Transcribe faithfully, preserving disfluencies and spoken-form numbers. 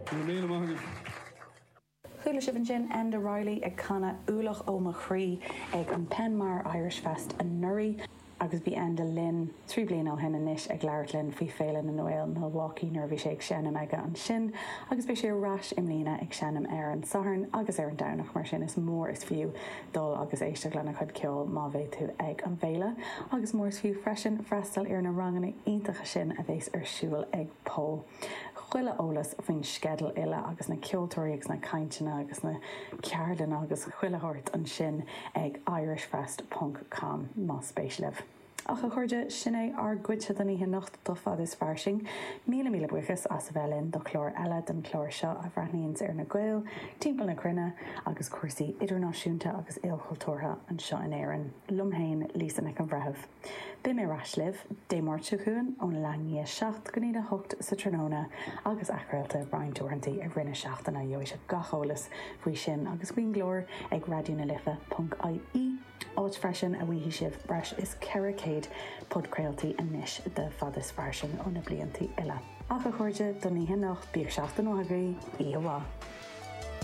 Go raibh míle maith agaibh. Chuala sibh ansin Enda Reilly ag canadh Ualach ó mo chroí ag an Penmar Irish Fest anuraidh agus bhí Enda linn trí bliana ó shin anois ag labhairt linn faoi Féile na nGael Milwaukee nuair a bhí sé ag seinm aige ansin agus beidh sé ar ais i mbliana ag seinm ar an Satharn agus ar an Domhnach mar sin is mór is fiú dul agus éisteacht lena chuid ceoil má bheidh tú ag an bhféile agus mór is fiú freisin freastal ar na ranganna iontacha sin a bheas ar siúl ag Pól. Chuile eolas faoin sceideal uile agus na ceoltóirí agus na cainteanna agus na ceardlanna agus chuile shórt ansin ag irishfest.com más spéis libh. Ach a chairde sin é ár gcuidse den oíche anocht do Fad is Fairsing, míle míle buíochas as a bheith linn do chlár eile den chlár seo a bhreathnaíonns ar na Gaeil timpeall na cruinne agus cúrsaí idirnáisiúnta agus ilchultúrtha anseo in Éirinn. Liom féin Lisa Nic an Bhreithimh. Beidh mé ar ais libh Dé Máirt seo chugainn ón leath i ndiaidh a seacht go dtí a hocht sa tráthnóna agus athchraolta roinnt uaireanta i rith na seachtaine gheobhaidh sibh gach eolas faoi sin agus faoin gclár ag raidió na life ponc IE. Áit freisin a bhfaighidh sibh breis is ceithre chéad podchraoltaí anois de Fad is Fairsing ó na blianta uile. Ach a chairde don oíche anocht bíodh seachtain mhaith agaibh, oíche mhaith.